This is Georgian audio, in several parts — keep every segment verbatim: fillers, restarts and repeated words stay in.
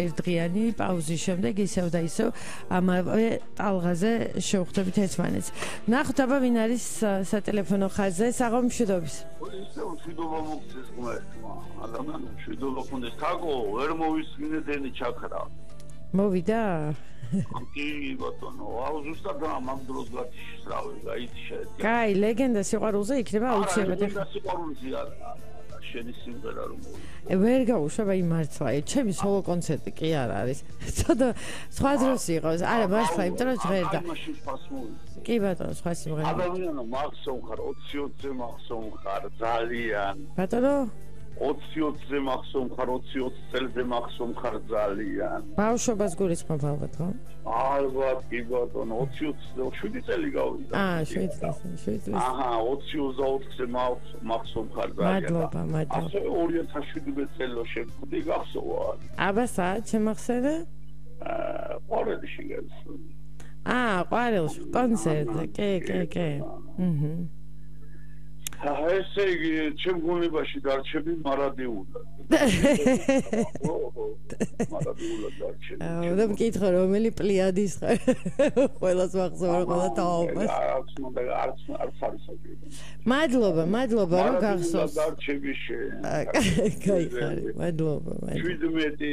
ერთდღიანი პაუზის შემდეგ ისევ და ისევ ამავე ტალღაზე შევხვდებით ერთმანეთს. ნახოთ აბა ვინ არის სატელეფონო ხაზზე. საღამო მშვიდობის. ისევ მშვიდობა მოგწეს ღმერთმა. ადამიანი მშვიდობა ქონდეს. თაკო ვერ მოვისმინე ჩაქრა. მოვიდა? კი ბატონო, აუ ზუსტად ამ დროს გათიშრავე, გაიჩე. კაი, ლეგენდა სიყვარულზე იქნება აუცილებლად. ლეგენდა სიყვარულზე არა. შენი სიმღერა რომ მოვიდა. ვერ გაუშვება იმ მართლა. ჩემი სოლო კონცერტი კი არ არის. ცოტა სხვა დროს იყოს. არა, მართლა, იმიტომ რომ ჟღერდა. კი ბატონო, სხვა სიმღერა. ადამიანო, მახსოვ ხარ, ოცი ოცზე მახსოვ ხარ, ძალიან. ბატონო ოცი ოცზე მახსოვ ხარ, ოცი ოცი წელზე მახსოვ ხარ ძალიან. ბავშვობას გულისხმობ ალბათ, ხო? ალბათ, კი ბატონო, ოცი ოცი შვიდი წელი გავიდა. აა, შვიდი წელი, შვიდი წელი. აჰა, ოცი ოცდაოთხზე მახსოვ ხარ ძალიან. მადლობა, მადლობა. ასე ორი ათას შვიდმეტ წელს შევხვდი, გახსოვა. აბა, საათ შემახსენე? აა, ყვარელში გასული. აა, ყვარელში, კონცერტზე, კი, კი, კი. აჰა. ესე იგი, ჩემ გონებაში დარჩები მარადიულად. მარადიულად დარჩები. და მკითხო, რომელი პლიადის ხარ? ყველას მახსოვარ, ყველა თაობას. არც უნდა არც არც არის საჭირო. მადლობა, მადლობა, რომ გახსოვს. დარჩები შენ. კაი ხარი, მადლობა, მადლობა. შვიდმეტი,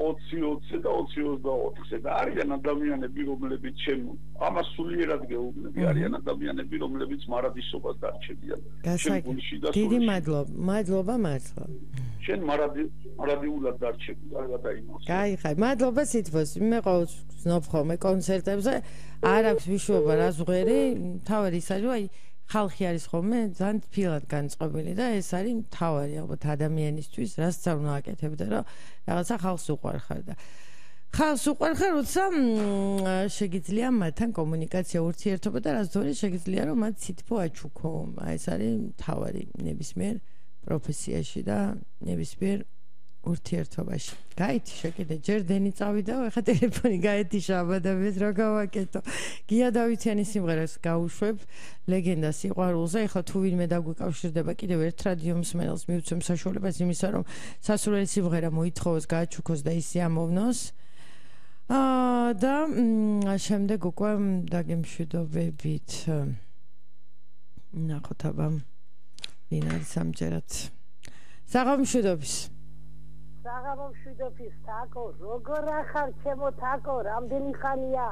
ოცი ოცი და ოცი ოცდაოთხზე და არიან ადამიანები, რომლებიც ჩემ ამას სულიერად გეუბნები, არიან ადამიანები, რომლებიც მარადისობას დარჩებიან. დიდი მადლობა, მადლობა მართლა. შენ მარადი მარადიულად დარჩები, კარგად აიმოს. კაი ხარ, მადლობა სითბოს. მე ყოველთვის ვზნობ ხოლმე კონცერტებზე, არ აქვს ვიშუობა რა ზღერი, თავად ის არის, აი ხალხი არის ხოლმე ძალიან თბილად განწყობილი და ეს არის თავარი ალბათ ადამიანისთვის, რასაც არ უნდა აკეთებდე, რომ რაღაცა ხალხს უყვარხარ და ხალხს უყვარხარ, როცა შეგიძლია მათთან კომუნიკაცია, ურთიერთობა და რაც დონე შეგიძლია რომ მათ სითბო აჩუქო. აი ეს არის თავარი ნებისმიერ პროფესიაში და ნებისმიერ ურთიერთობაში. გაითი შეკიდე, ჯერ დენი წავიდა, ეხა ტელეფონი გაეთიშა აბადებს რა გავაკეთო. გია დავითიანის სიმღერას გავუშვებ, ლეგენდა სიყვარულზე. ეხლა თუ ვინმე დაგვიკავშირდება კიდევ ერთ რადიო მსმენელს მივცემ საშუალებას იმისა, რომ სასურველი სიმღერა მოითხოვოს, გააჩუქოს და ისე ამოვნოს. აა და შემდეგ უკვე დაგემშვიდობებით. ნახოთ აბა ვინ არის ამჯერად. საღამო მშვიდობის. საღამო მშვიდობის, თაკო, როგორ ახარ ჩემო თაკო, რამდენი ხანია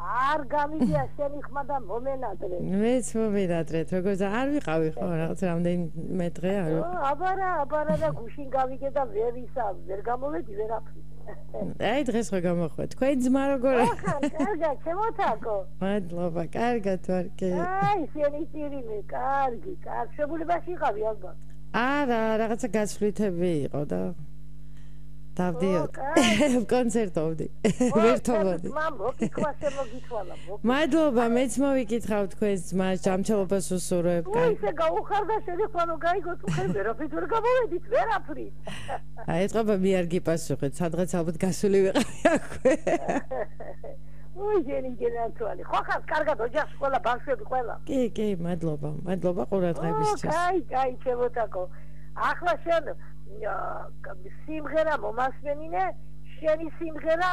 არ გამიგია შენი ხმა და მომენატრე. მეც მომენატრეთ, როგორც არ ვიყავი ხო, რაღაც რამდენი მეტრე არ ვიყავი. აბარა, აბარა და გუშინ გავიგე და ვერ ისა, ვერ გამოვედი ვერაფრით. აი დღეს ხო გამოხვედი. თქვენ ძმა როგორ არის? ახლა კარგად, ჩემო თაკო. მადლობა, კარგად ვარ კი. აი, შენი წირიმე, კარგი, კარგი, შეგულებაში იყავი ალბათ. არა, რაღაცა გასვლითები იყო და დავდიოდ. კონცერტოვდი. ვერთობოდი. მამო, კითხვა შემოგითვალა. მადლობა, მეც მოვიკითხავ თქვენს ძმას, ჯამჩელობას უსურვებ. ой, ისე გაუხარდა შენი ხმანო გაიგო თუ ხე ვერაფრით ვერ გამოვედით, ვერაფრით. აი, ეთყობა მე არ გიპასუხეთ, სადღაც ალბათ გასული ვიყავი აქვე. ой, შენი გენათვალი. ხო ხარ, კარგად ოჯახში ყველა ბავშვები ყველა. კი, კი, მადლობა. მადლობა ყურადღებისთვის. კაი, კაი, შემოტაკო. ახლა შენ სიმღერა მომასმენინე, შენი სიმღერა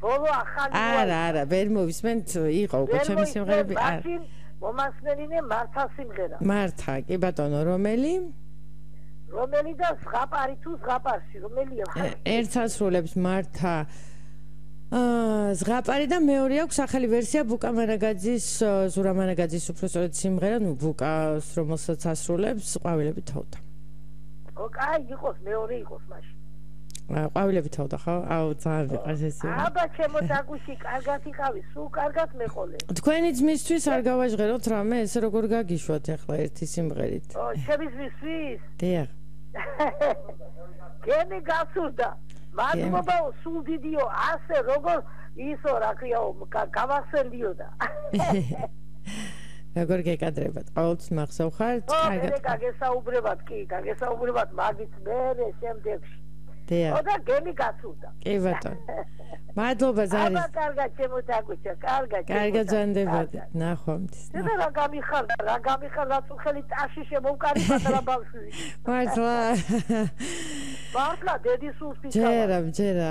ბოლო ახალი. არა, არა, ვერ მოვისმენთ, იყო უკვე ჩემი სიმღერები. არა. მომასმენინე მართა სიმღერა. მართა, კი ბატონო, რომელი? რომელი და ზღაპარი თუ ზღაპარში, რომელია? ერთს ასრულებს მართა აა ზღაპარი და მეორე აქვს ახალი ვერსია ბუკა მანაგაძის, ზურა მანაგაძის უბრალოდ სიმღერა, ნუ ბუკას რომელსაც ასრულებს ყვავილები თავდა. ოკაი, იყოს მეორე იყოს მაშინ. ყვავილები თავდა ხო? აუ ძალიან ვიყავს ეს. აბა ჩემო დაგუში, კარგად იყავი, სულ კარგად მეყოლე. თქვენი ძმისთვის არ გავაჟღეროთ რამე, ესე როგორ გაგიშვათ ახლა ერთი სიმღერით? ო, ჩემი ძმისთვის? დიახ. გენი გასურდა. მადლობა, სულ დიდიო, ასე როგორ ისო რა ქვიაო, გავახსენდიოდა. როგორ გეკადრებათ? ყოველთვის მახსოვ ხართ? კარგად. ო, გაგესაუბრებათ, კი, გაგესაუბრებათ მაგით მერე შემდეგში. დიახ. ოდა გემი გასულდა. კი ბატონო. მადლობა ზარი. აბა კარგად შემოდაგუჩა, კარგად. კარგად ზანდებოდი. ნახვამდის. და რა გამიხარდა, რა გამიხარდა თუ ხელი ტაში შემოვკარი პატარა ბავშვი. მართლა. მართლა დედის უსტის. ჯერა, ჯერა.